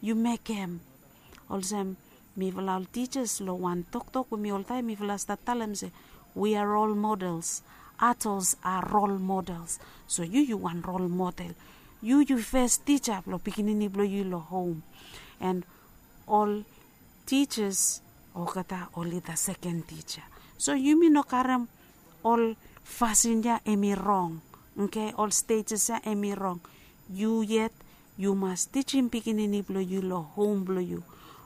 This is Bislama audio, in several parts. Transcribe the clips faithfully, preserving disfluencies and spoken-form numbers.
yu mekem. Olsem mifala ol tijas long wan toktok we mi oltaem mifala stap talem se, we are role models. Adults are role models. So yu yu wan role model. Yu yu fes tija blong pikinini blong yu long hom. And ol tijas olgeta oli the second tija. So yumi no karem ol fasin ya em i rong. Oke, ol stages ya em i rong. Yu yet yu mas tijim pikinini blong yu long hom blong yu.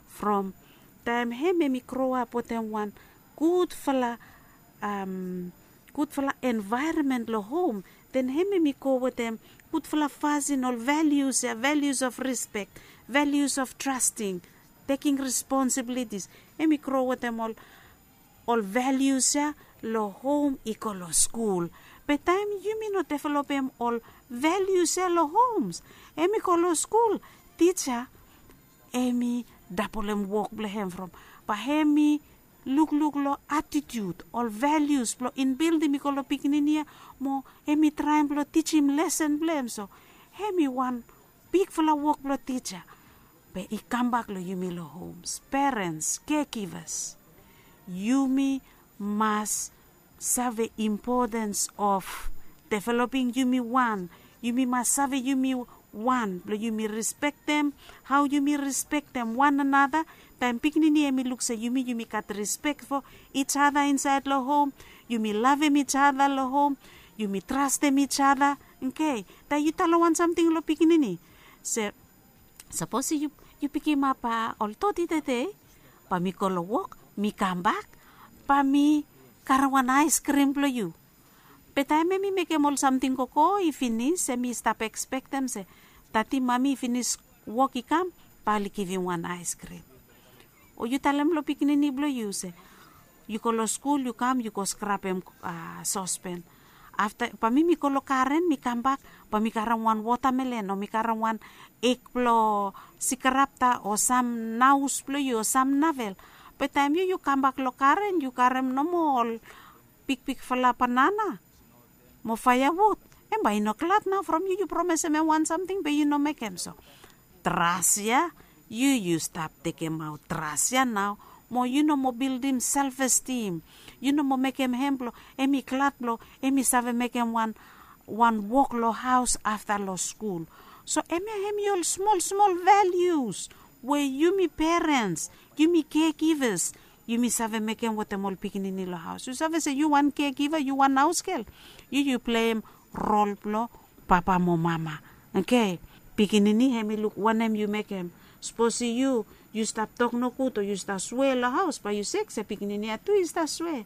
From taem hem em i grow up wetem wan gudfala um, gudfala envaeronmen long hom, then hem em i go wetem gudfala fasin ol values ya, values of respect, values of trusting, taking responsibilities. Hem i grow wetem ol ol values ya long hom i go long skul. Be taem yumi no developem ol values ya long homes, hem i go long skul, tija hem i dabolem wok blong hem from, bae hem i lukluk long attitude, ol values blong inbildim i go long pikinini ya, mo hem i traem blong tijim lesen blong hem. So hem i wan bigfala wok blong tija. Be i kambak long yumi long homes, parents, caregivers, yumi mas save importance of developing yumi wan. Yumi mas save yumi wan blong yumi respektem hao yumi respektem wan anata. Taem pikinini hem i luk se yumi yumi gat respek fo each other insaed long hom, yumi lavem each other long hom, yumi trastem each other. Oke, taem yu talem wan samting long pikinini se, sapos yu yu pikimap ol toti tede, bae mi go long wok, mi kambak, bae mi karem wan aeskrim blong yu. Be taem hem i mekem ol samting gogo i finis, hem i stap ekspektem se tati mami i finis wok i kam, bae oli givim wan aeskrim. O yu talem long pikinini blong yu se, yu go long skul, yu kam, yu go skrapem sospen. Afta bae mi mi go long garen, mi kambak, bae mi karem wan wotamelen o mi karem wan ek blong sikrapta o sam naos blong yu o sam navel. Be taem yu yu kambak long garen yu karem nomo ol bigbigfala banana mo faeawud, hem bae i no glad nao from yu yu promesem hem wan samting be yu no mekem. So tras ya, yu yu stap tekemaot tras ya nao, mo yu no moa bildim self esteem. Yu no moa mekem hem blong hem i glad blong hem i save mekem wan wan wok long haos afta long skul. So hemia hem i ol smol smol values we yumi parents, yumi caregivers, yumi save mekem wetem ol pikinini long haos. Yu save se yu wan caregiver, yu wan haosgel, yu yu pleim rol blong papa mo mama. Oke, pikinini hem i luk wanem yu mekem. Sapos yu yu stap tok nogud o yu stap swe long haos, bae yu sek se pikinini ya tu i stap swe.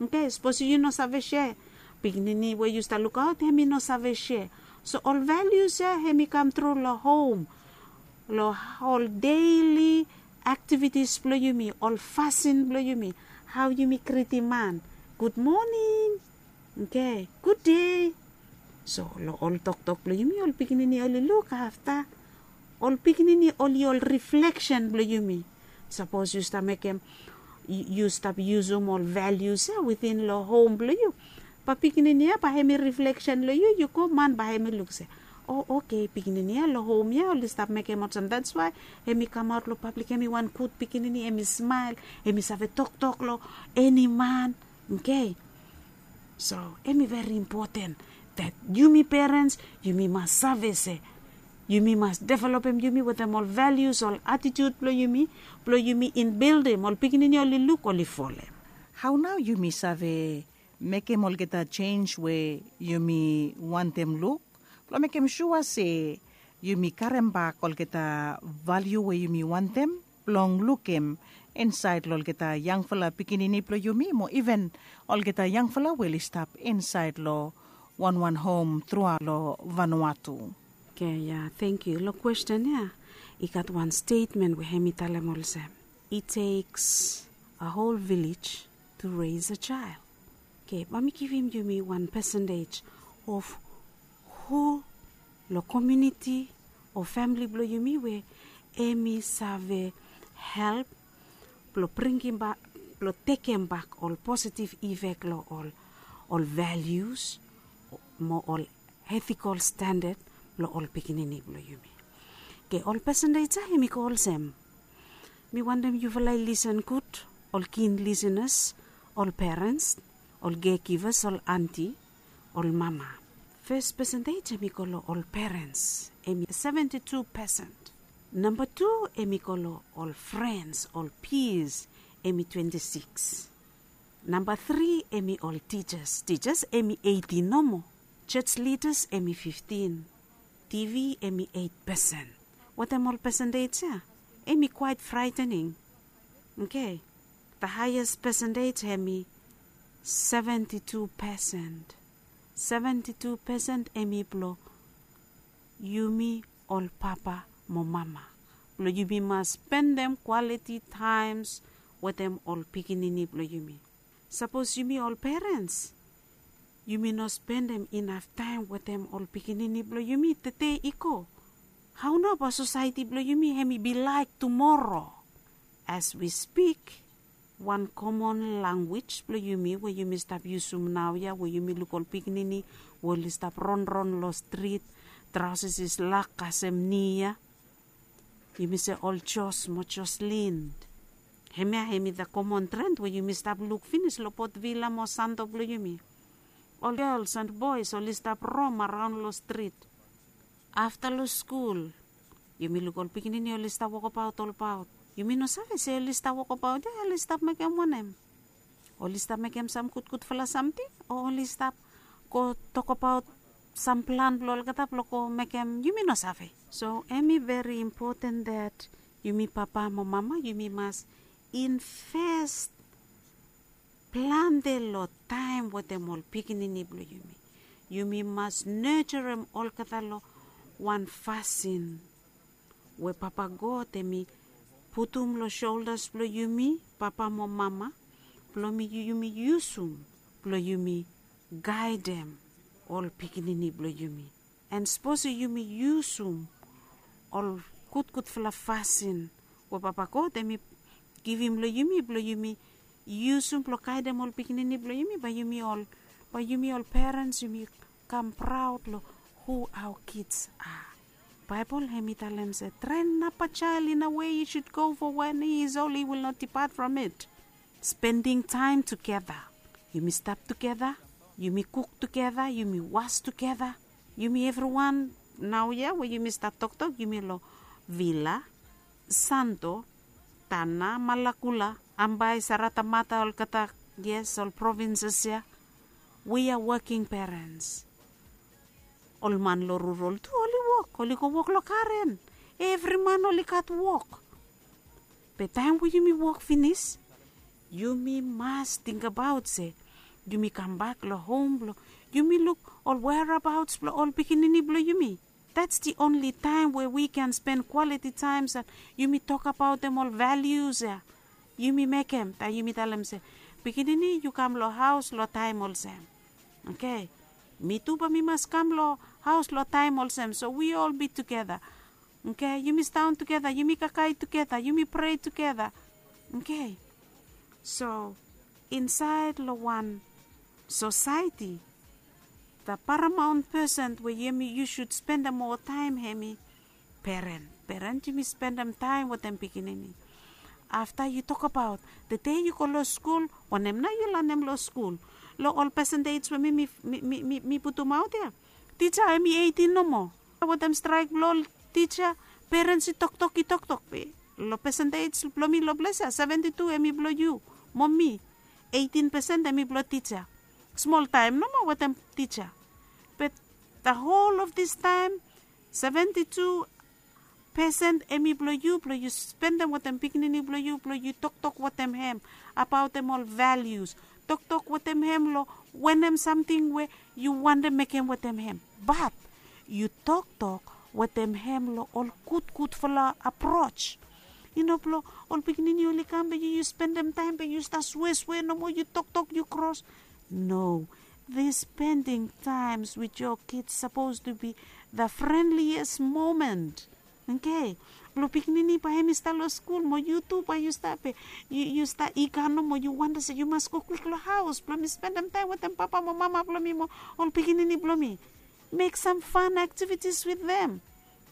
Oke, sapos yu no save sea, pikinini we yu stap lukaot hem i no save sea. So ol values ya hem i kam tru long hom, long ol daily activities blong yumi, ol fasin blong yumi, hao yumi gritim man, gud moning, oke, gud dei. So long ol toktok blong yumi ol pikinini oli luk afta. Ol pikinini oli ol rifleksen blong yumi. Sapos yu stap mekem, yu stap yusum ol values ya witin long hom blong yu, bae pikinini ya bae hem i rifleksen long yu, yu go man bae hem i luk se, o oke, pikinini ya long hom ya oli stap mekem olsem, that's why hem i kamaot long pablik hem i wan gud pikinini, hem i smael, hem i save toktok long eni man. Oke. So hem i veri impoten that yumi parents yumi mas save se yumi mas developem yumi wetem ol values, ol attitude blong yumi, blong yumi inbildim ol pikinini oli luk oli folem. Hao nao yumi save mekem olgeta jenis we yumi wantem luk blong mekem sua se yumi karembak olgeta valiu we yumi wantem blong lukim insaed long olgeta yangfala pikinini blong yumi mo iven olgeta yangfala we oli stap insaed long wanwan hom truaot long Vanuatu. Oke, ya, tangkiu. Long kwesten ya i gat wan stetmen we hem i talem olsem, it takes a whole village to raise a child. Oke, bae mi givim yumi wan pesentej of hu long komuniti o famili blong yumi we hem i save help blong bringimbak, blong tekembak ol positiv ifek long ol, ol values mo ol etikol standad blong ol pikinini blong yumi. Oke, ol percentage ya em i go olsem. Mi wantem yufala i lisen gud, ol kin lisenas, ol perens, ol caregivers, ol anti, ol mama. Fes percentage em i go long ol perens, em i seventy two percent. Namba tu em i go long ol frens, ol peers, em i twenty six. Namba tri em i ol teachers. Teachers em i eighteen nomo. Church leaders em i fifteen. T V em i eight percent. Wetem ol percentage ya, em i quite frightening. Oke. The highest percentage em i seventy two percent. Seventy two percent em i blong yumi ol papa mo mama, blong yumi mas spendem quality times wetem ol pikinini blong yumi. Sapos yumi ol perens, yumi no spendem inaf taem wetem ol pikinini blong yumi tede i go, hao nao bae sosaeti blong yumi em i bi laek tumoro? As we speak, wan komon lanwis blong yumi we yumi stap yusum naoia, we yumi luk ol pikinini we oli stap ronron long strit, traosas i slak kasem ni ya, yumi se ol Jos mo Joslin. Hemia em i the komon tren we yumi stap luk finis long Port Vila mo Santo blong yumi. Ol gels and boes oli stap rom araon long strit. Afta long skul, yumi luk ol pikinini oli stap wokabaot olbaot. Yumi no save se oli stap wokabaot ya oli stap mekem wanem. Oli stap mekem sam gudgudfala samting, o oli stap go tokbaot sam plan blong olgeta blong go mekem, yumi no save. So em i veri impoten that yumi papa mo mama yumi mas invest plante long taem wetem ol pikinini blong yumi. Yumi mas nejerem olgeta long wan fasin we Papa God em i putum long soldas blong yumi, papa mo mama, blong yumi yusum blong yumi gaedem ol pikinini blong yumi. And sapos yumi yusum ol gudgudfala fasin we Papa God em i givim long yumi blong yumi yusum blong gaedem ol pikinini blong yumi, bae yumi ol, bae yumi ol perens yumi kam praod long hu aoa kids a. Baebol em i talem se, train up a child in a way he should go, for when he is old he will not depart from it. Spending time together. Yumi stap tugeta, yumi kuk tugeta, yumi was tugeta. Yumi evriwan naoia we yumi stap toktok yumi long Vila, Santo, Tana, Malakula, Ambae, Saratamata, olgeta, yes, ol provinses ya. We are working parents. Ol man long rurol tu oli wok, oli go wok long garen. Evri man oli gat wok. Be taem we yumi wok finis, yumi mas tingbaot se yumi kambak long hom blong yumi luk ol whereabouts blong ol pikinini blong yumi. That's the only time where we can spend quality times and yumi tokbaotem ol values ya. Yumi mekem taem yumi talem se, pikinini yu kam long haos long taem olsem. Oke. Mi tu bae mi mas kam long haos long taem olsem, so we all be tugeta. Oke, yumi sidaon tugeta, yumi kakae tugeta, yumi prea tugeta. Oke. So insaed long wan sosaeti, the paramount person we yumi yu sud spendem moa taem em i peren. Peren yumi spendem taem wetem pikinini. Afta yu tokbaot tede yu go long skul, wanem nao yu lanem long skul? Long ol pesentej we mi mi mi mi mi putumaot ya, tija em i eitin nomo. Wetem straek blong ol tija, perens i toktok i toktok be long pesentej blong mi long ples ya, seventi tu em i blong yu mo mi, eitin pesen em i blong tija. Smol taem nomo wetem tija. Be the whole of this time, seventi tu pesen em i blong yu blong yu spendem wetem pikinini blong yu blong yu toktok wetem hem abaotem ol values. Toktok wetem hem long wanem samting we yu wantem mekem wetem hem. Bat yu toktok wetem hem long ol gudgudfala aprots. I no blong ol pikinini oli kam be yu yu spendem taem be yu stap sweswe nomo, yu toktok, yu kros. No. This spending times with your kids supposed to be the friendliest moment. Oke. Blong pikinini bae hem i stap long skul mo yu tu bae yu stap be yu yu stap iga nomo, yu wantem se yu mas go kwik long haos blong mi spendem taem wetem papa mo mama blong mi mo ol pikinini blong mi. Make some fun activities with them.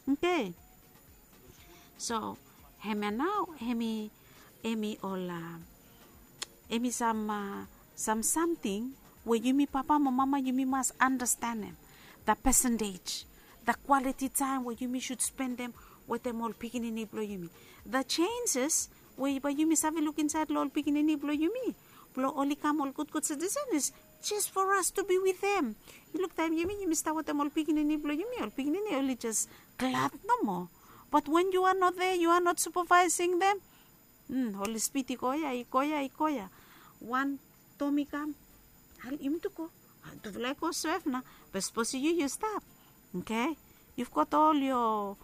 Oke. So hemia nao hemi hemi ol a hemi sam a sam samting we yumi papa mo mama yumi mas anastanem, the percentage, the quality time we yumi sud spendem wetem ol pikinini blong yumi, the changes we bae yumi save luk insaed long ol pikinini blong yumi blong oli kam ol gudgud citizen is just for us to be with them. Yu luk taem yumi yumi stap wetem ol pikinini blong yumi, ol pikinini oli jes glad nomo. Bat wen yu a not there, yu a not supervising them, oli spit i go ya i go ya i go ya. Wan tom i kam, al yumi tu go, tufala i go sef na. Be sapos yu yu stap, okay, you've got all your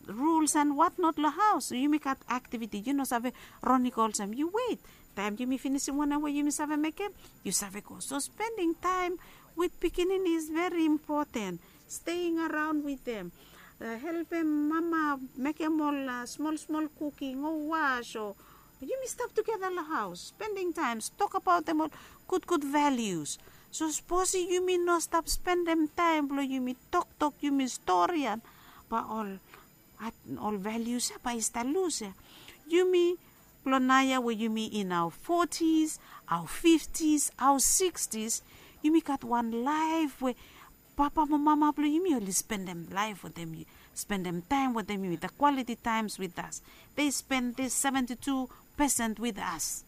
rules and what not long haus. Yumi gat activity, yu no save ron i go olsem yu weit. Taem yumi finisim wanem we yumi save mekem, yu save go. So spending time with pikinini is very important. Staying around with them, helpem mama mekem ol smol smol kuking o was o yumi stap tugeta long haus spending time, tokabaotem ol gudgud values. So sapos yumi no stap spendem taem blong yumi toktok yumi storian, bae ol ol values ya bae i stap lus ya. Yumi blong naoia we yumi in our forties, our fifties, our sixties, yumi gat wan laef we papa mo mama blong yumi oli spendem laef wetem yu, spendem taem wetem yumi, the quality times with us. They spend this seventy two percent with us.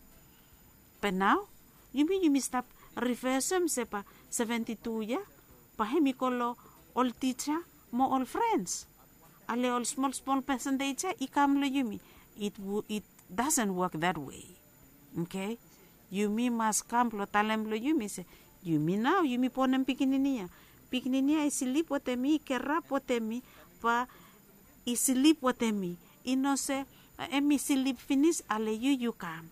Be nao yumi yumi stap rivesem se bae seventy two ya bae hemi go long ol tija mo ol frens. Ale ol smol smol percentage ya i kam long yumi. It doesn't work that way. Okay, yumi mas kam blong talem long yumi se yumi nao yumi bonem pikinini ya. Pikinini ya i slip wetem mi, i kerap wetem mi, bae i slip wetem mi. I no se em i slip finis ale yu yu kam.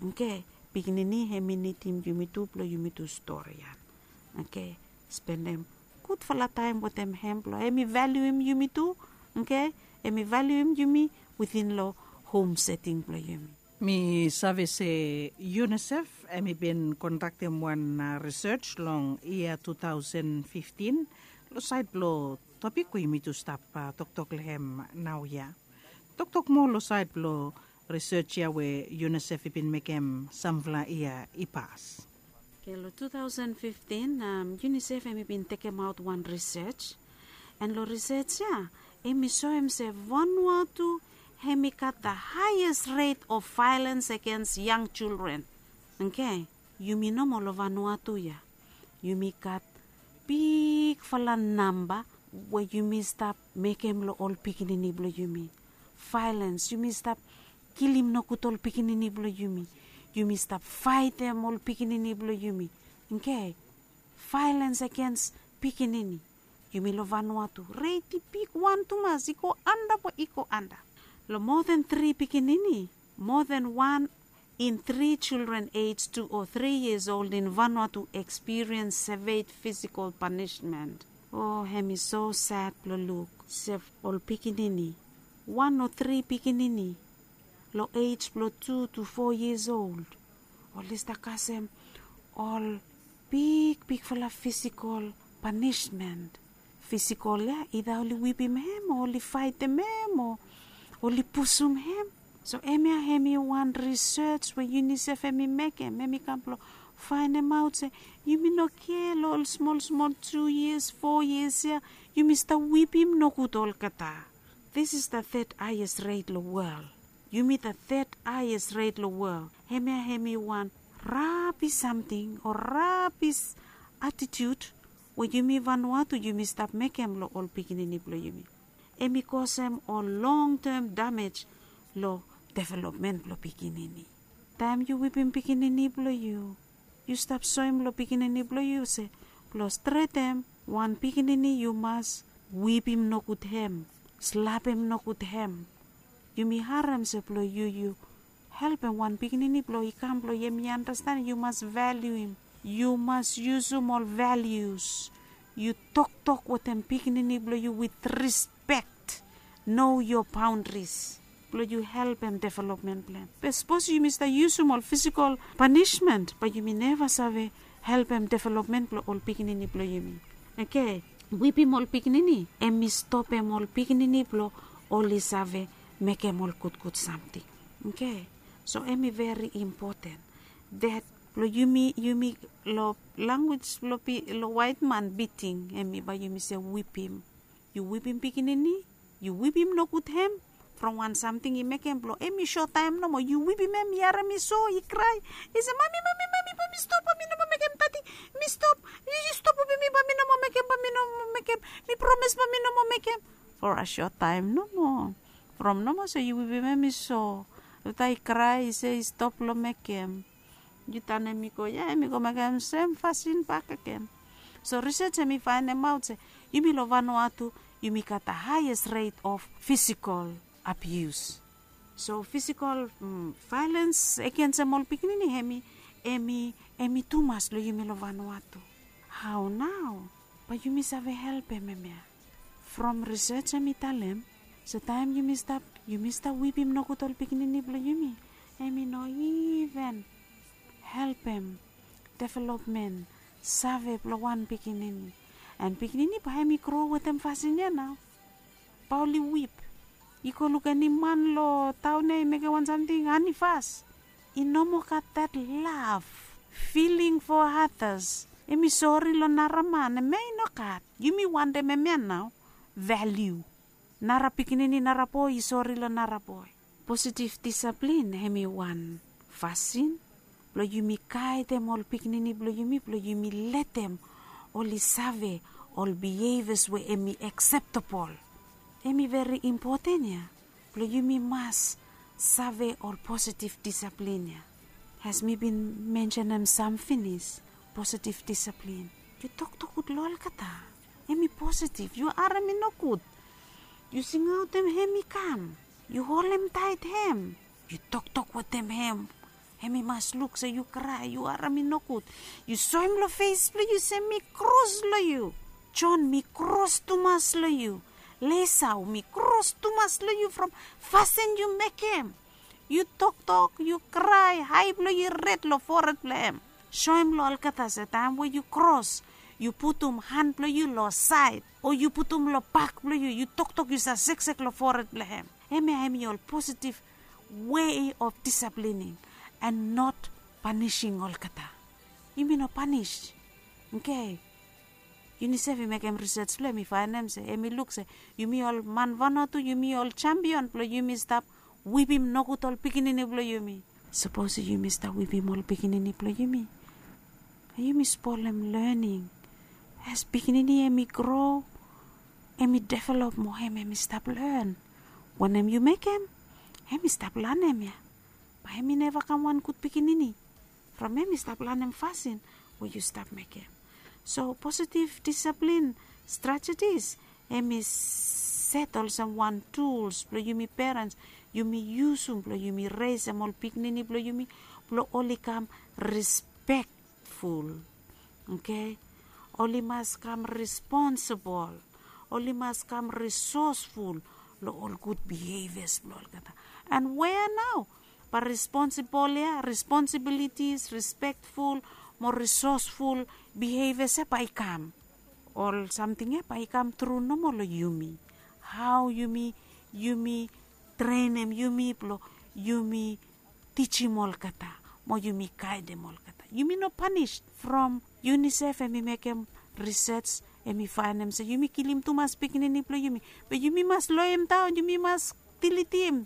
Okay, pikinini hem i nidim yumi tu blong yumi tu storian. Okay, spendem gudfala taem wetem hem blong hem i valiuim yumi tu. Okay, hem i valiuim yumi witin long hom seting blong yumi. Mi save se unicef hem i bin kondaktem wan risej long yia two thousand fifteen long saed blong topik we yumi tu stap toktok long hem naoia. Toktok moa long saed blong risej ya we unicef i bin mekem samfala yia i pas. Long two thousand fifteen unicef hem i bin tekemaot wan risej, en long risej ya hem i soem se vanua tu hem i gat the haies ret of vaelens agens yang jilren. Okay, yumi nomo long vanua tu ya yumi gat bigfala namba we yumi stap mekem long ol pikinini blong yumi. Vaelens, yumi stap kilim nogud ol pikinini blong yumi. Yumi stap faetem ol pikinini blong yumi. Okay, vaelens agens pikinini. Yumi long vanua tu ret i bigwan tumas i go anda bae i go anda. Long moa than tri pikinini, moa than wan in tri jilren ej tu o tri yias old in vanua tu ekspiriens sevea fisikol panismen. O hem i so sad blong luk se ol pikinini, wan o tri pikinini long ej blong tu tu fo yias old, oli stap kasem ol bigbigfala fisikol panismen. Fisikol ya ida oli wipim hem o oli faetem hem o oli pusum hem. So hemia hem i wan risej we unicef hem i mekem, hem i kam blong faenemaot se yumi no kea long ol smol smol tu yias fo yias ya yumi stap wipim nogud olgeta. This is the third haies ret long wol. Yumi the third haies ret long wol. Hemia hem i wan rabis samting o rabis atitiut we yumi vanua tu yumi stap mekem long ol pikinini blong yumi. Hem i kosem ol long tem damej long developmen blong pikinini. Taem yu wipim pikinini blong yu, yu stap soem long pikinini blong yu se blong stretem wan pikinini yu mas wipim nogud hem, slapem nogud hem. Yumi harem se blong yu yu helpem wan pikinini blong i kam blong hem i andasten yu mas valiuim. Yu mas yusum ol valius. Yu toktok wetem pikinini blong yu wit rispek. Know your boundaries blong yu helpem developmen blong hem. Be sapos yumi stap yusum ol fisikol panismen bae yumi neva save helpem developmen blong ol pikinini blong yumi. Okay, wipim ol pikinini hem i stopem ol pikinini blong oli save mekem ol gudgud samting. Oke. So em i veri impoten dat blong yumi yumi long lanwis blong long waitman biting em i bai yumi se wipim. Yu wipim pikinini, yu wipim nogud hem from wan samting i mekem blong em i sotaem nomo. Yu wipim hem i harim i so i krae, i se mami mami mami bai mi stop bai mi nomo mekem tati. Mi stop. Yu stop wipim mi bai mi nomo mekem bai mi nomo mekem. Mi promes bai mi nomo mekem. For a sotaem nomo. From nomo se yu wipim hem i so. Afta i krae i se i stop long mekem. Yu tanem i go ya em i go mekem sem fasin bakegen. So risej em i faenemaot se yumi long vanua tu yumi gat a haies ret of fisikol abius. So fisikol vaelens agensem ol pikinini em i em i em i tumas long yumi long vanua tu. Hao nao? Bai yumi save helpem em ya. From risej em i talem se taem yumi stap yumi stap wipim nogud ol pikinini blong yumi, em i no iven helpem developmen save blong wan pikinini. En pikinini bai em i gro wetem fasin ya nao. Bai oli wip. I go luk eni man long taon ya i mekem wan samting ani fas. I no moa gat dat lav, filing fo atas. Em i sori long nara man em ya i no gat. Yumi wantem em ya nao. Valiu. Nara pikinini nara boe i sori long nara boe. Positiv disaplin em i wan fasin blong yumi gaedem ol pikinini blong yumi blong yumi letem oli save ol bihevias we em i akseptabol. Em i veri impoten ya blong yumi mas save ol positiv disaplin ya. As mi bin mensenem sam finis, positiv disaplin. Yu toktok gud long olgeta. Em i positiv. Yu harim i nogud. Yu singaotem hem i kam. Yu holem taet hem. Yu toktok wetem hem. Hem i mas luk se yu krae yu harim i nogud. Yu soem long fes blong yu se mi kros long yu. Jon mi kros tumas long yu. Lesau mi kros tumas long yu from fasin yu mekem. Yu toktok yu krae hai blong yu red long fored blong hem. Soem long olgeta se taem we yu kros yu putum han blong yu long saed o yu putum long bak blong yu yu toktok yu sa seksek long fored blong hem. Hemia hem i ol positiv wei of disaplining and not panising olgeta. Yumi no panis. Oke. Unisef i mekem risej blong hem i faenem se hem i luk se yumi ol man vanua tu yumi ol jampion blong yumi stap wipim nogud ol pikinini blong yumi. Sapos yumi stap wipim ol pikinini blong yumi, yumi spolem lening. As pikinini hem i gro, hem i develop mo hem hem i stap len. Wanem yu mekem, hem i stap lanem ya. Bae hem i neva kam wan gud pikinini from hem i stap lanem fasin we yu stap mekem. So positiv disaplin stratetis hem i set olsem wan tuls blong yumi perens yumi yusum blong yumi resem ol pikinini blong yumi blong oli kam rispektful. Oke. Oli mas kam responsibol. Oli mas kam risosful long ol gud bihevias blong olgeta. And wea nao bae responsibol ya responsibilitis respektful mo risosful bihevias ya bae i kam? Ol samting ya bae i kam tru nomo long yumi. Hao yumi yumi trenem yumi blong yumi tijim olgeta mo yumi gaedem olgeta. Yumi no panis. From unisef hem i mekem risej hem i faenem se yumi kilim tumas pikinini blong yumi. Be yumi mas loem daon yumi mas dilitim.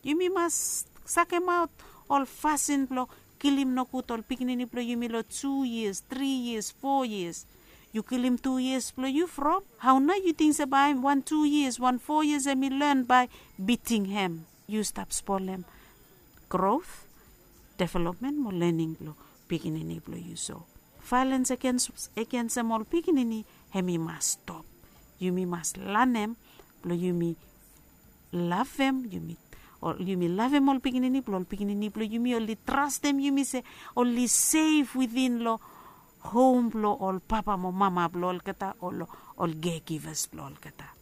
Yumi mas sakemaot ol fasin blong kilim nogud ol pikinini blong yumi long tu yias tri yias fo yias. Yu kilim tu yias blong yu from hao nao yu ting se bae wan tu yias wan fo yias hem i len bae biting hem? Yu stap spolem grot, developmen mo lening blong pikinini blong yu so. Vaelens agensem ol pikinini hem i mas stop. Yumi mas lanem blong yumi lavem yumi ol yumi lavem ol pikinini blong ol pikinini blong yumi oli trastem yumi se oli sef witin long hom blong ol papa mo mama blong olgeta o long ol kegivas blong olgeta.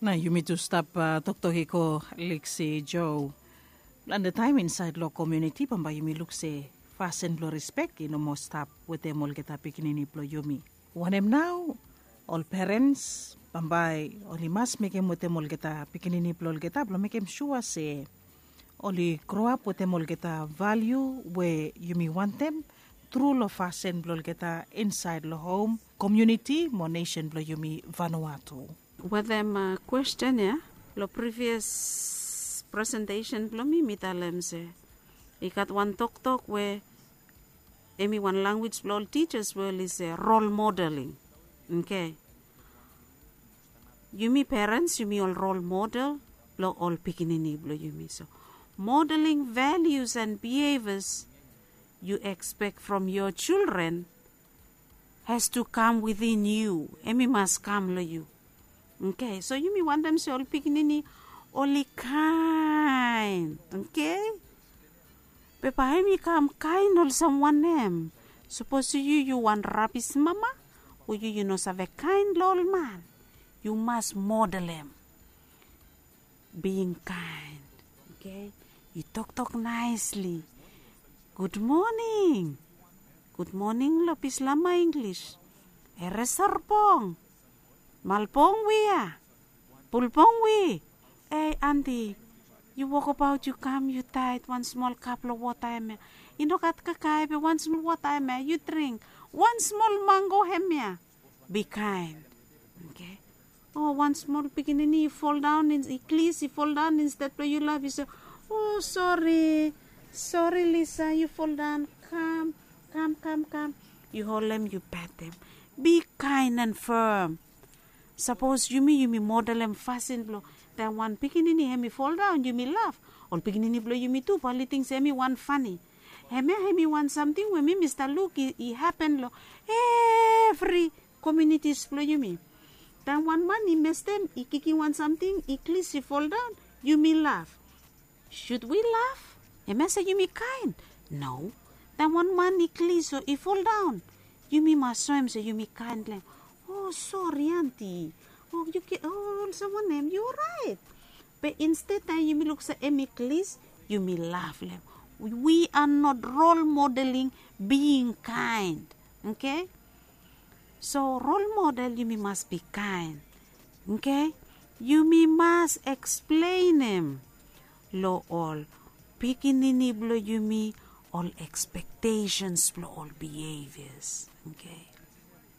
Na yumi tu stap toktok i go liksi jo. Plante taem insaed long komiuniti bambae yumi luk se fasin blong rispek i no moa stap wetem olgeta pikinini blong yumi. Wanem nao? Ol perens bambae oli mas mekem wetem olgeta pikinini blong olgeta blong mekem sua se oli groap wetem olgeta valiu we yumi wantem tru long fasin blong olgeta insaed long hom, komuniti mo nesen blong yumi Vanuatu. Wetem kwestin ya, long privias presentesen blong mi mi talem se i gat wan toktok we em i wan lanwis blong ol tijas we oli se rol modeling. Oke, yumi perens yumi ol rol model blong ol pikinini blong yumi. So modeling values and behaviors you expect from your children has to come within you. Em i mas kam long yu. Oke, so yumi wantem se ol pikinini oli kaen. Oke, be bae em i kam kaen olsem wanem? Sapos yu yu wan rabis mama o yu yu no save kaen long ol man, yu mas modelem being kind. Oke, yu toktok naesli. Gud moning. Gud moning long bislama Inglis. Eresorbong, malbong wia, bulbong wi. Ei anti, yu wokabaot yu kam yu taet wan smol kap long wota hemia. I no gat kakae be wan smol wota hemia yu dring. Wan smol mango hemia. Be kind. Oke, o wan smol pikinini i foldaon i klis i foldaon, insted blong yu laf yu se, o sori, sori Lisa, yu foldaon. Kam, kam, kam, kam. Yu holem yu petem. Be kind and firm. Sapos yumi yumi modelem fasin blong taem wan pikinini hem i foldaon yumi laf, ol pikinini blong yumi tu bae oli ting se hem i wan fani. Hemia hem i wan samting we mi mi stap luk i hapen long evri komunitis blong yumi. Taem wan man i mestem i kikim wan samting i klis i foldaon, yumi laf. Sud wi laf? Hemia se yumi kaen? No. Taem wan man i klis o i foldaon, yumi mas soem se yumi kaen long hem. O sori anti, o yu olsem wanem, yu oraet? Be insted taem yumi luk se hem i klis, yumi laf long hem. We are not role modeling being kind. Oke, so rol model yumi mas bi kaen. Oke, yumi mas eksplenem long ol pikinini blong yumi ol ekspektesens blong ol bihevias. Oke,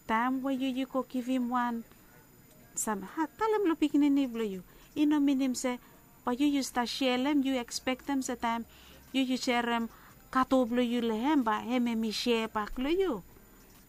taem we yu yu go givim wan sam talem long pikinini blong yu, i no minim se bae yu yu stap serem, yu ekspektem se taem yu yu serem kato blong yu long hem bae hem hem i ser bak long yu.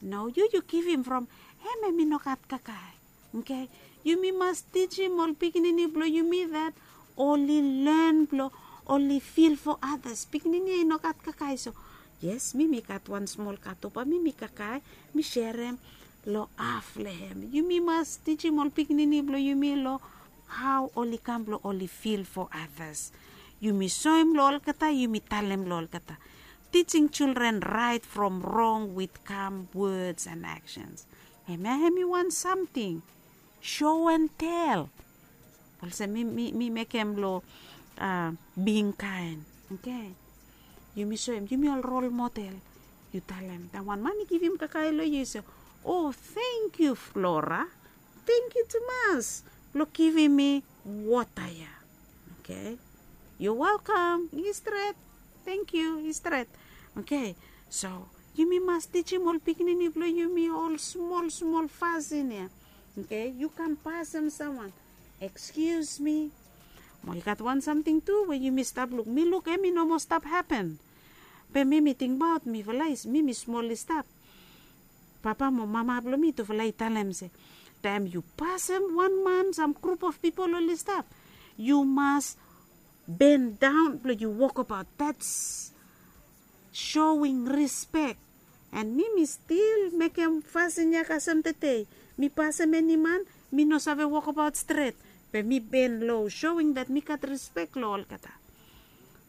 No, yu yu givim from hem hem i no gat kakae. Oke, yumi mas tijim ol pikinini blong yumi that oli len blong oli fil fo adas. Pikinini ya i no gat kakae, so yes, mi mi gat wan smol kato bae mi mi kakae, mi serem long haf long hem. Yumi mas tijim ol pikinini blong yumi long hao oli kam blong oli fil fo adas. Yumi soem long olgeta, yumi talem long olgeta. Teaching children right from wrong with calm words and actions. Hemia hem i wan samting show and tell. Olsem mi mi mekem long being kind. Oke, yumi soem yumi ol rol model. Yu talem taem wan man i givim kakae long yu yu se, o tengkiu Flora, tengkiu tumas blong givim mi wota ya. Oke, yu welkam. I stret. Tengkiu. I stret. Oke, so yumi mas tijim ol pikinini blong yumi ol smol smol fasin ya. Oke, yu kam pasem samwan, excuse me. Mo i gat wan samting tu we yumi stap luk, mi luk hem i no moa stap hapen. Be mi mi tingbaot mifala i mi mi smol i stap, papa mo mama blong mi tufala i talem se taem yu pasem wan man sam grup of pipol oli stap, yu mas bendaon blong yu wokabaot. That's showing respect. And mi mi stil mekem fasin ya kasem tede. Mi pasem eni man, mi no save wokabaot stret, be mi ben lo, showing that mi gat rispek lo olgeta.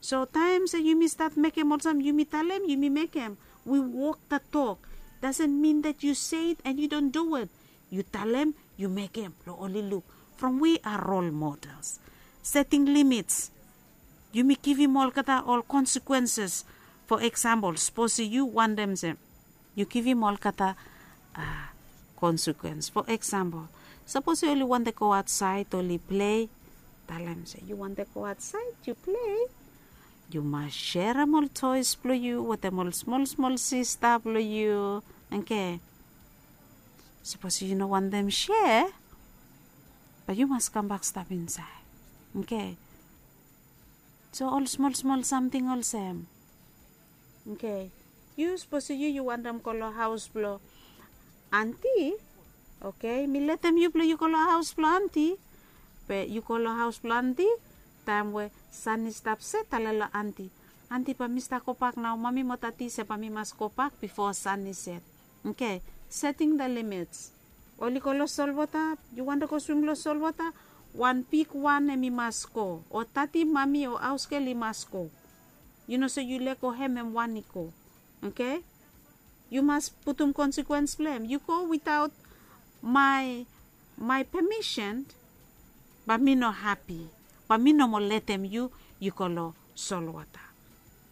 So taem se yumi stat mekem olsem yumi talem yumi mekem, we walk the talk. Doesn't mean that you say it and you don't do it. Yu talem, yu mekem, lo oli luk from we are role models. Setting limits. Yumi givim olgeta ol consequences. For example, sapos yu wantem se yu givim olgeta, a, konsekuens. Fo eksampol, sapos oli wante go aotsaed oli plei, talem se yu wante go aotsaed yu plei, yu mas serem ol toes blong yu wetem ol smol smol sista blong yu. Oke. Sapos yu no wantem se, bat yu mas kambak stap insaed. Oke. So ol smol smol samting olsem. Oke. Yu sapos yu yu wantem go long haos blong anti. Oke, mi letem yu blong yu go long haos blong anti. Be yu go long haos blong anti, taem we san i stap set, talem long anti, anti, bae mi stap gobak nao. Mami mo tati se bae mi mas gobak bifo san i set. Oke. Setting the limits. Oli go long solwota, yu wantem go swim long solwota, wan bigwan hem i mas go, o tati, mami o haosgel i mas go. Yu no se yu lego hem, hem wan i go. Oke. Yu mas putum konsekuens blong hem. Yu go witaot my my pemisen, bae mi no hapi, bae mi no mo letem yu yu go long solwota.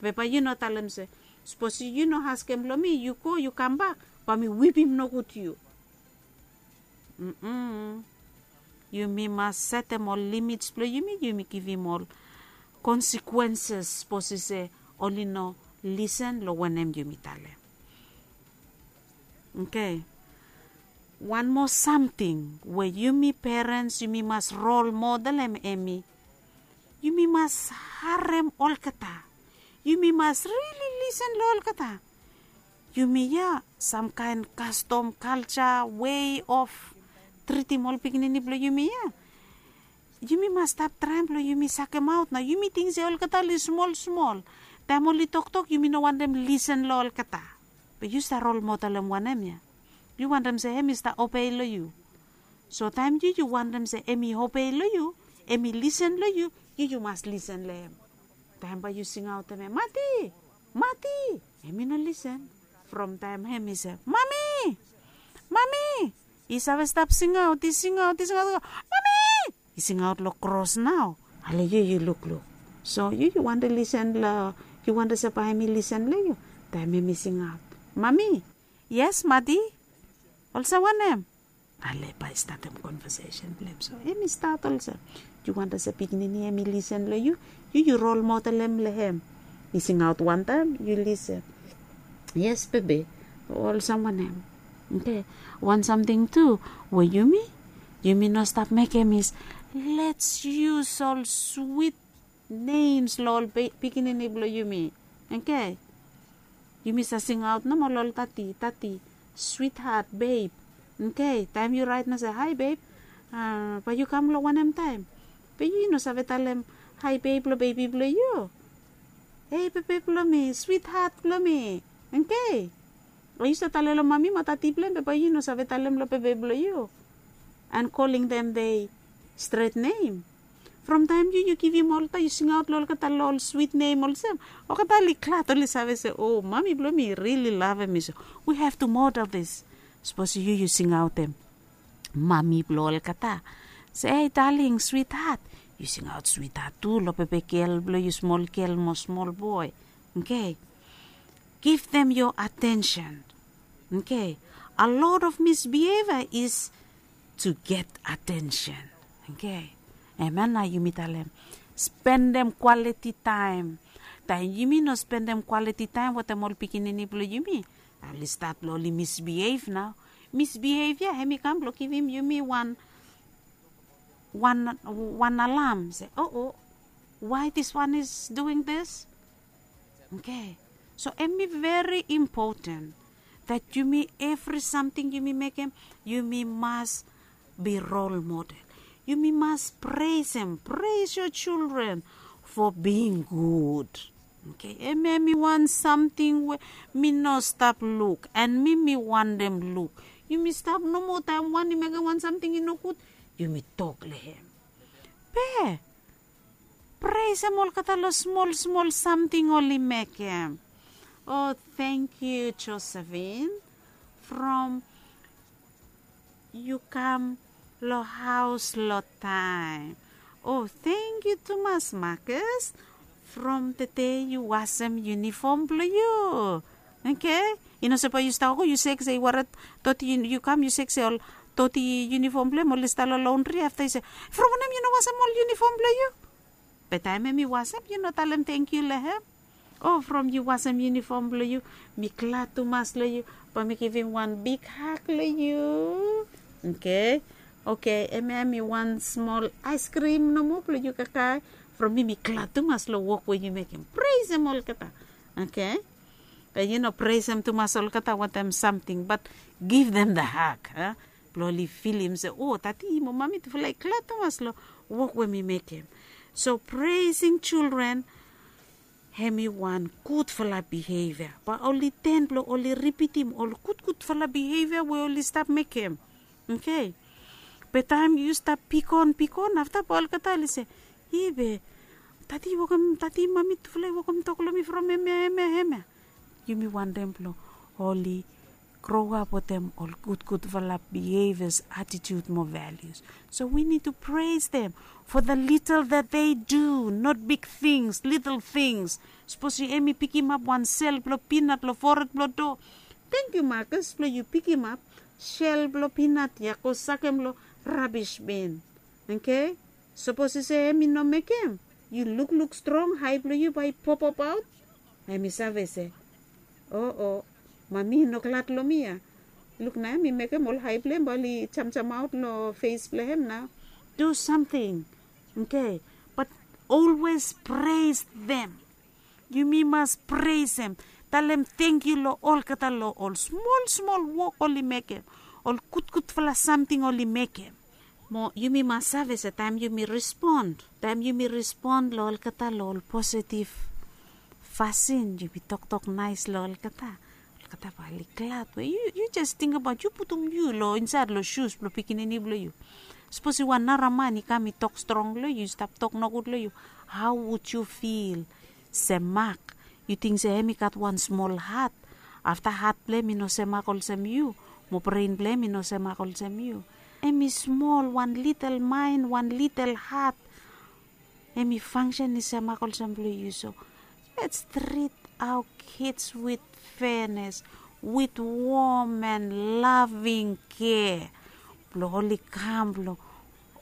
Be bae yu no talem se, sapos yu no askem long mi, yu go yu kambak, bae mi wipim nogud yu. Yumi mas setem ol limits blong yumi, yumi givim ol konsekuenses sapos i se oli no lisen long wanem yumi talem. Oke. Wan moa samting we yumi perens yumi mas rol model hem, hemi yumi mas harem olgeta. Yumi mas rili lisen long olgeta. Yumi ya, samkaen kastom, kalja, wei of tritim ol pikinini blong yumi ya, yumi mas stap traem blong yumi sakemaot nao. Yumi ting se olgeta oli smol smol. Taem oli toktok yumi no wantem lisen long olgeta. Be yu stap rol model hem wanem ya? Yu wantem se hem i stap obei long yu. So taem yu yu wantem se hem i obei long yu, hem i lisen long yu, yu yu mas lisen long hem. Taem bae yu singaotem hem, mati, mati, hem i no lisen. From taem hem i se, mami, mami, i save stap singaot, i singaot, i singaot, mami, i singaot long kros nao. Ale yu yu lukluk. So yu yu wantem lisen long, yu wantem se bae hem i lisen long yu. Taem hem i singaot, mami, yes mati, olsem wanem? Ale bae i statem konvesesen blong hem. So hem i stat olsem, yu wantem se pikinini hem i lisen long yu, yu yu rol model hem long hem. I singaot wantaem yu lisen. Yes bebe, olsem wanem? Oke. Wan samting tu we yumi, yumi no stap mekem is, lets yus ol swit nems long ol pikinini blong yumi. Oke. Yumi save singaot nomo long ol tati, tati, swithat, beb. Oke. Taem yu raet nao se, hae beb, bae yu kam long wanem taem? Be yu no save talem hae beb long bebi blong yu. Hei bebe blong mi, swithat blong mi. Oke. O yu save talem long mami mo tati blong hem, be bae yu no save talem long bebe blong yu. And calling them they stret nem. From taem yu yu givim olgeta, yu singaot long olgeta long ol swit nem olsem, olgeta oli glad, oli save se, o, mami blong mi i rili lavem mi. So we have to model this. Sapos yu yu singaotem mami blong olgeta se, ei daling, swithat, yu singaot swithat tu long bebe gel blong yu, smol gel mo smol boe. Oke. Give them your attention. Oke. A lot of misbehavior is to get attention. Oke. Hemia nao yumi talem spendem kwaliti taem. Taem yumi no spendem kwaliti taem wetem ol pikinini blong yumi, oli stat long oli misbehave nao. Misbehave ya hemi kam blong givim yumi wan wan wan alam se, o, o, why this one is doing this? Oke. So hemi veri impoten that yumi evri samting yumi mekem, yumi mas be rol model. Yumi mas presem, pres yo children fo bing gud. Oke. Hemia hemi wan samting we mi no stap luk, and mi mi wantem luk. Yumi stap nomo taem wan i mekem wan samting i nogud, yumi tok long hem. Be presem olgeta long smol smol samting oli mekem. O, tangkiu Josephine, from yu kam long haos long taem. O, tangkiu tumas Marcus, from tede yu wasem yunifom blong yu. Oke. I no se bae yu stap go yu sek se i waret doti yu kam yu sek se ol doti yunifom blong hem oli stap long londri afta yu se, from wanem yu no wasem ol yunifom blong yu? Be taem hem i wasem yu no talem tengkiu long hem. O from yu wasem yunifom blong yu, mi glad tumas long yu. Bae mi givim wan bik hak long yu. Oke. Oke, hemia hemi wan smol aiskrim nomo blong yu kakae. From mi mi glad tumas long wok we yu mekem, presem olgeta. Oke. Be yu no presem tumas olgeta wantaem samting bat give them the hug. Blong oli filim se o tati mo mami tufala i glad tumas long wok we mi mekem. So presing children, hemi wan gudfala bihevia bae oli ten blong oli ripitim ol gudgudfala bihevia we oli stap mekem. Oke. Be taem yu stap pikon pikon afta bae olgeta oli se, i be tati i wokem tati mami tufala i wokem tok long mi from hemia hemia hemia. Yumi wantem blong oli grow up wetem ol gudgudfala behaviors, attitude mo values. So we need to praise them for the little that they do, not big things, little things. Sapos yu em i pikimap wan sel blong pinat long foret blong do, tengkiu Marcus blong yu pikimap sel blong pinat ya go sakem long rabis bin. Oke. Sapos yu se em i no mekem yu lukluk strong hae blong yu bae i popopaot, em i save se, o o mami i no glad long mi ya. Luk na em i mekem ol hae blong hem bae oli jamjamaot long fes blong hem nao. Do samting. Oke. Bat olwes pres them. Yumi mas presem, talem tengkiu long olgeta long ol smol smol wok oli mekem, ol gudgudfala samting oli mekem. Mo yumi mas save se taem yumi respon taem yumi respon long olgeta long ol positiv fasin yumi toktok naes long olgeta, olgeta bae oli glad we yu jes tingbaot yu putum yu long insaed long sus blong pikinini blong yu. Sapos i wan nara man i kam i tok strong long yu i stap tok nogud long yu, hao wud yu fil? Semak. Yu ting se em i gat wan smol hat, afta hat blong em i no semak olsem yu, mo bren blong em i no semak olsem yu. Em i smol wan litel maen wan litel hat. Em i fangsen i semak olsem blong yu so, let's treat our kids with fairness, with warm and loving care. Blong oli kam blong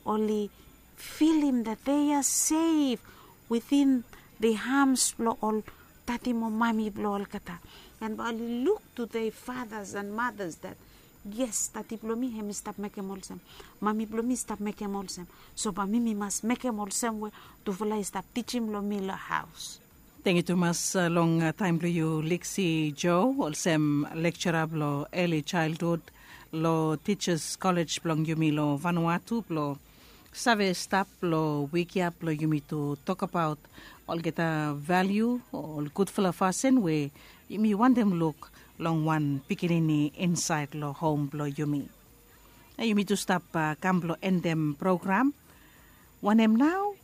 oli filim that they are safe within the arms blong ol tati mo mami blong olgeta. And bae oli luk to their fathers and mothers that yes, tati blong mi hem i stap mekem olsem, mami blong mi i stap mekem olsem. So bae mi mi mas mekem olsem we tufala i stap tijim long mi long haos. Tengkiu tumas long taem blong yu Liksi Jo olsem lekjara blong eli chaelhud long Tijas Kolej blong yumi long Vanuatu blong save stap long wik ya blong yumi tu tokbaot olgeta valiu o ol gudfala fasin we yumi wantem luk long wan pikinini insaed long hom blong yumi. Na yumi tu stap kam blong endem program. Wanem nao?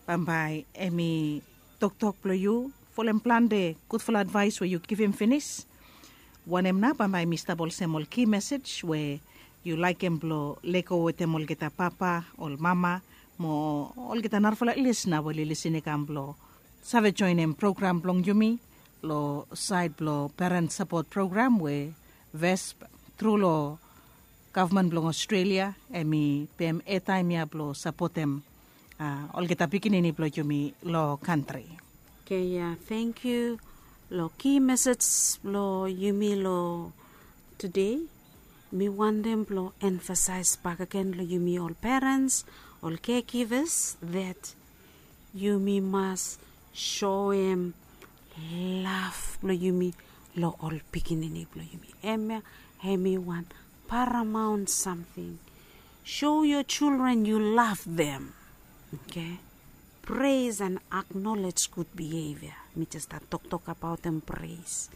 Bambae em i toktok blong yu folem plante gudfala advaes we yu givim finis. Wanem nao bambae em i stap olsem ol ki mesej we yu laekem blong lego wetem olgeta papa ol mama mo olgeta narafala lisna we oli lisin i kam blong save joenem program blong yumi long saed blong peren sapot program we vesp tru long gavman blong Australia em i pem etaem ya blong sapotem olgeta pikinini blong yumi long kantri. Oke ya, tengkiu long ki mesej blong yumi long tude. Mi wantem blong emfasaes bakegen long yumi ol perens, ol kekivas, that yumi mas soem lav blong yumi long ol pikinini blong yumi. Hemia hem i wan paramaon samting. Show your children you love them. Oke. Pres and aknolej gud bihevia. Mi jes stap toktok abaotem pres.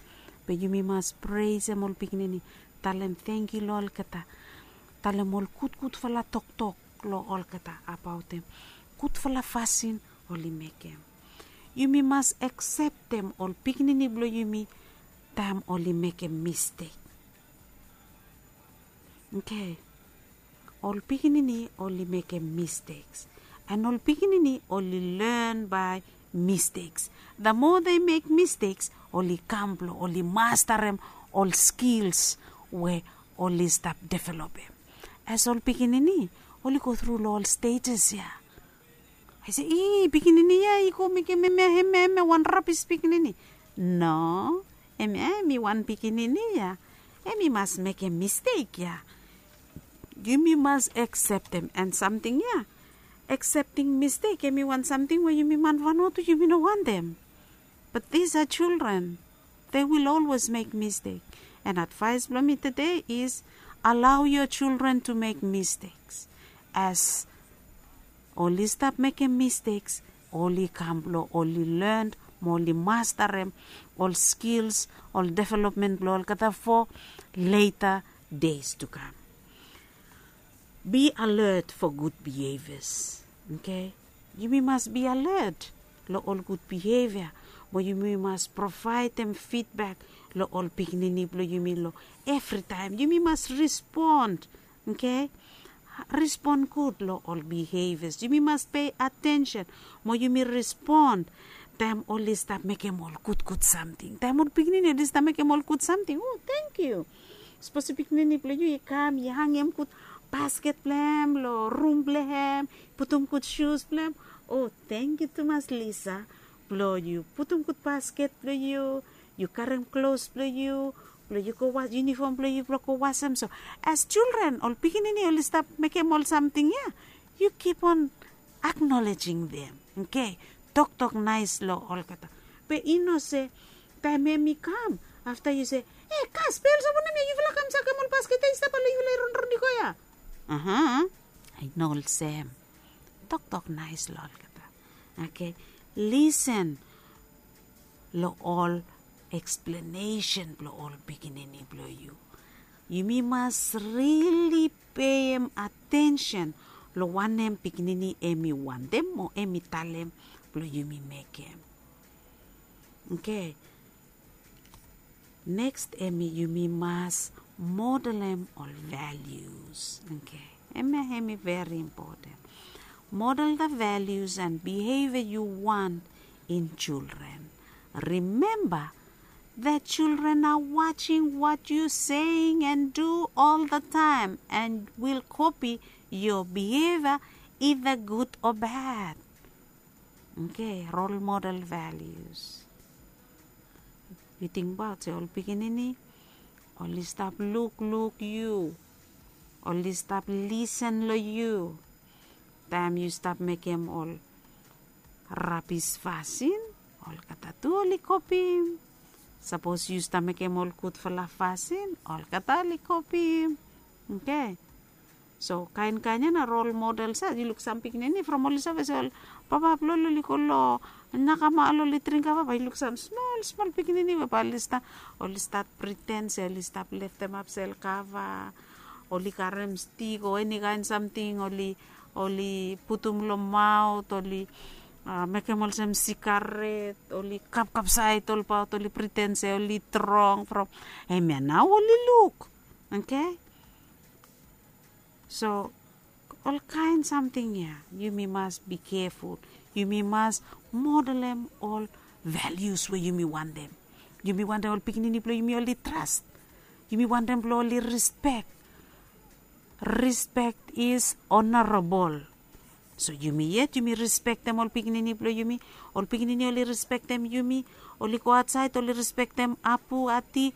Be yumi mas presem ol pikinini, talem tengkiu long olgeta, talem ol gudgudfala toktok long olgeta abaotem gudfala fasin oli mekem. Yumi mas akseptem ol pikinini blong yumi taem oli mekem mistek. Oke. Ol pikinini oli mekem misteks, and ol pikinini oli len bae Mistakes. The more they make mistakes, oli kam blong oli mastarem ol skils we oli stap developem. As ol pikinini oli go tru long ol stages ya. I say, "Ih, pikinini ya i go mekem hemia hemia hemia wan rabis pikinini." No, hemia hemi wan pikinini ya. Hemi mas mekem mistek ya. Yumi mas akseptem. And samting ya, aksepting mistek hemi wan samting we yumi man Vanuatu yumi no wantem. But these are children. They will always make mistake. And advice blong mi today is allow your children to make mistakes. As oli stap mekem mistakes, oli kam blong oli learn mo oli mastarem ol skils, ol development blong olgeta for later days to come. Be alert for good behaviors. Okay? Yumi mas be alert long ol good behavior. Mo yumi mas provaedem feedback long ol pikinini blong yumi long evri taem. Yumi mas respond. Okay? Respond gud long ol behaviors. Yumi mas pay attention mo yumi respond taem oli stap mekem ol gudgud samting. Taem ol pikinini oli stap mekem ol gud samting, o, tangkiu. Sapos pikinini blong yu i kam i hangem gud basket blong hem long rum blong hem, putum gud sus blong hem. O, tangkiu tumas, Lisa, blong yu putum gud basket blong yu, yu karem klos blong yu, blong yu go was, yunifom blong yu blong go wasem. So as children, ol pikinini oli stap mekem ol samting ya, yu keep on acknowledging them. Okay? Toktok naes long olgeta. Be i no se taem hemi kam afta yu se, "E, kas, be olsem wanem ya yufala kam sakem ol basket ya i stap long yufala i ronron i go ya?" Aha. I no olsem. Toktok naes long olgeta. Okay? Lisen long ol eksplenesen blong ol pikinini blong yu. Yumi mas rili payem atensen long wanem pikinini hemi wantem o hemi talem blong yumi mekem. Okay. Next hemi yumi mas modelem ol values. Okay. Hemia hemi very important. Model the values and behavior you want in children. Remember that children are watching what you saying and do all the time and will copy your behavior, either good or bad. Okay, role model values. Yu tingbaot se ol pikinini oli stap lukluk yu, oli stap lisen long yu. Taem yu stap mekem ol rabis fasin, olgeta tu oli kopim. Sapos yu stap mekem ol gudfala fasin, olgeta oli kopim. Okay. So kaen kaen ya na rol model sa, yu luk sam pikinini from oli save se ol papa blong oli go long nakama oli dring kava, bae yu luk sam smol smol pikinini we bae oli stat, oli stat priten se oli stap leftemap sel kava, oli karem stik o eni kaen samting oli, oli putum long maot, oli mekem olsem sigaret, oli kapkapsaed olbaot, oli priten se oli strong from, hemia nao oli luk. Okay. So ol kaen samting ya yumi mas bi keful. Yumi mas modelem ol valius we yumi wantem. Yumi wantem ol pikinini blong yumi oli tras. Yumi wantem blong oli rispek. Rispek is onorabol. So yumi yet yumi rispektem ol pikinini blong yumi. Ol pikinini oli rispektem yumi. Oli go aotsaed oli rispektem apu, ati.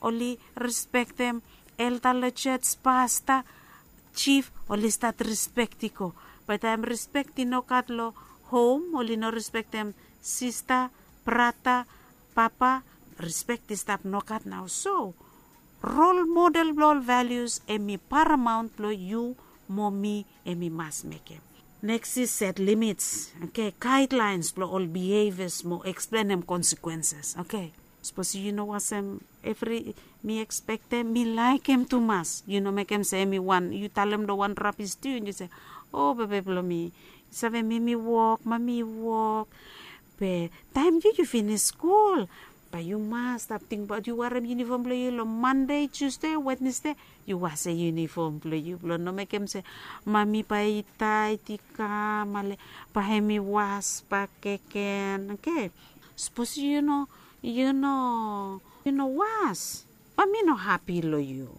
Oli rispektem elda long jos, pasta, jif, oli stat rispek i go. Bae taem rispek i nogat long hom, oli no rispektem sista, brata, papa, rispek i stap nogat nao. So rol model blong ol valius hemi paramaon blong yu mo mi hemi mas mekem. Neks is set limits. Okay, gaedlaens blong ol bihevias mo eksplenem konsekwenses. Okay. Sapos yu no wasem evri mi ekspektem, mi laekem tumas, yu no mekem se hemi wan, yu talem long wan rabis tu, yu se, "O bebe blong mi, yu save, mi mi wok, mami i wok." Be taem yu yu finis skul, Yu mas stap tingbaot yu warim yunifom blong yu long Mande, Tusde, Wednesde. Yu wasem yunifom blong yu blong no mekem se mami bae i taet i kam ale bae hem i was bakegen, oke? Sapos yu no yu no yu no was, bae mi no hapi long yu.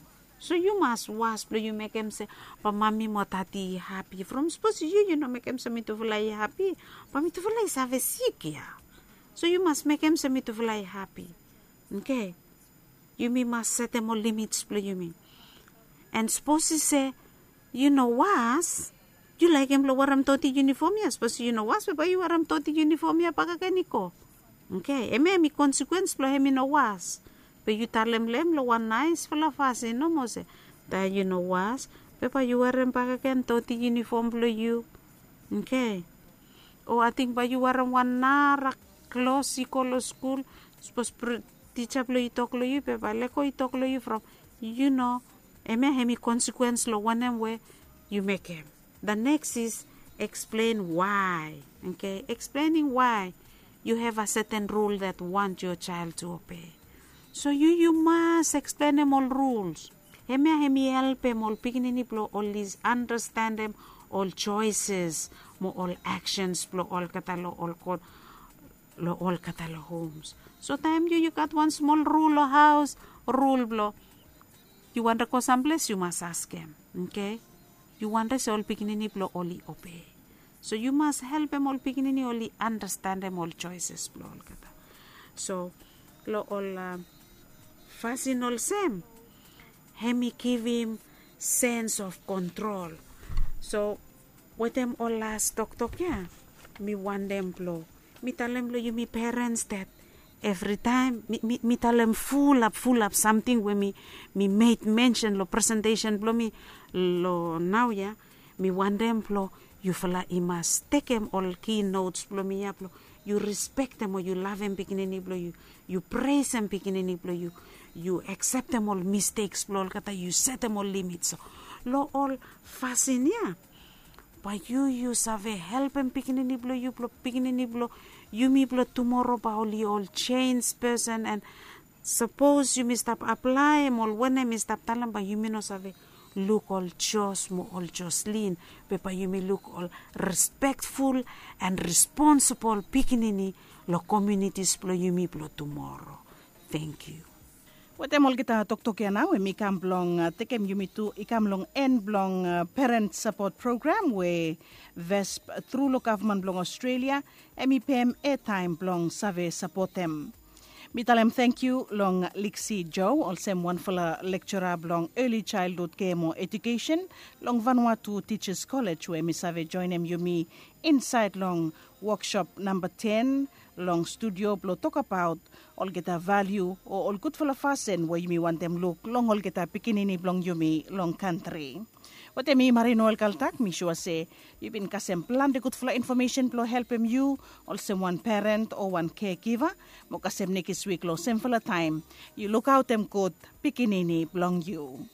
So yu mas was blong yu mekem se bae mami mo tati i hapi. From sapos yu yu no mekem se mitufala i hapi, bae mitufala i save sik ya. So yu mas mekem se mitufala i hapi. Oke. Yumi mas setem ol limits blong yumi. And sapos i se yu no was, yu laekem blong warim toti yunifom ya. Sapos yu no was, be bae yu warim toti yunifom ya bakegen i go. Oke, hemia hem i konsekuens blong hem i no was. Be yu talem long hem long wan naesfala fasin nomo se, taem yu no was, be bae yu warim bakegen toti yunifom blong yu. Oke. O ating bae yu warim wan nara klos i go long skul. Sapos tija blong yu i tok long yu, be bae lego i tok long yu from yu no. Hemia hem i konsekuens long wanem we yu mekem. The next is explain why. Oke, explaining why you have a certain rule that want your child to obey. So yu yu mas eksplenem ol rules. Hemia hem i helpem ol pikinini blong oli andastanem ol joeses mo ol aksens blong olgeta long ol god long olgeta long homes. So taem yu yu gat wan smol rul long haos, rul blong yu wantem go samples yu mas askem, oke? Yu wantem se ol pikinini blong oli obei. So yu mas helpem ol pikinini oli andastanem ol joeses blong olgeta. So long ol fasin olsem, hem i givim sens of kontrol. So wetem ol las toktok ya, mi wantem blong mi talem long yumi perens dat evritaem mi, mi, mi talem fulap fulap samting we mi, mi meit mensen long presentesen blong mi long nau ya. Mi wantem blong yufala i mas tekem ol ki nots blong mi ya blong yu rispektem o yu lavem pikinini blong yu, yu presem pikinini blong yu, yu akseptem ol misteks blong olgeta, yu setem ol limits. So long ol fasin ya bae yu yu save helpem pikinini blong yu blong pikinini blong yumi blong tumoro bae oli ol jenis pesen. And sapos yumi stap aplaem ol wanem mi stap talem bae yumi no save luk ol jos mo ol joslin, be bae yumi luk ol respektful and responsibol pikinini long komiunitis blong yumi blong tumoro. Tangkiu. Wetem olgeta toktok ya nao em i kam blong tekem yumi tu i kam long en blong peren sapot program we vesp tru long gavman blong australia em i pem etaem blong save sapotem. Mi talem tangkiu long liksi joe olsem wanfala lekjora blong eli jaelhud gemo ejukesen long vanua tu tijas kolej we em i save joenem yumi insaed long woksop namba ten long studio blong tokabaot olgeta valiu o ol gudfala fasin we yumi wantem luk long olgeta pikinini blong yumi long kantri. Wetem mi mari noel kaltak mi sua se yu bin kasem plante gudfala infomesen blong helpem yu olsem wan peren o wan kegiva. Mo kasem nekis wik long semfala taem yu lukaotem gud pikinini blong yu.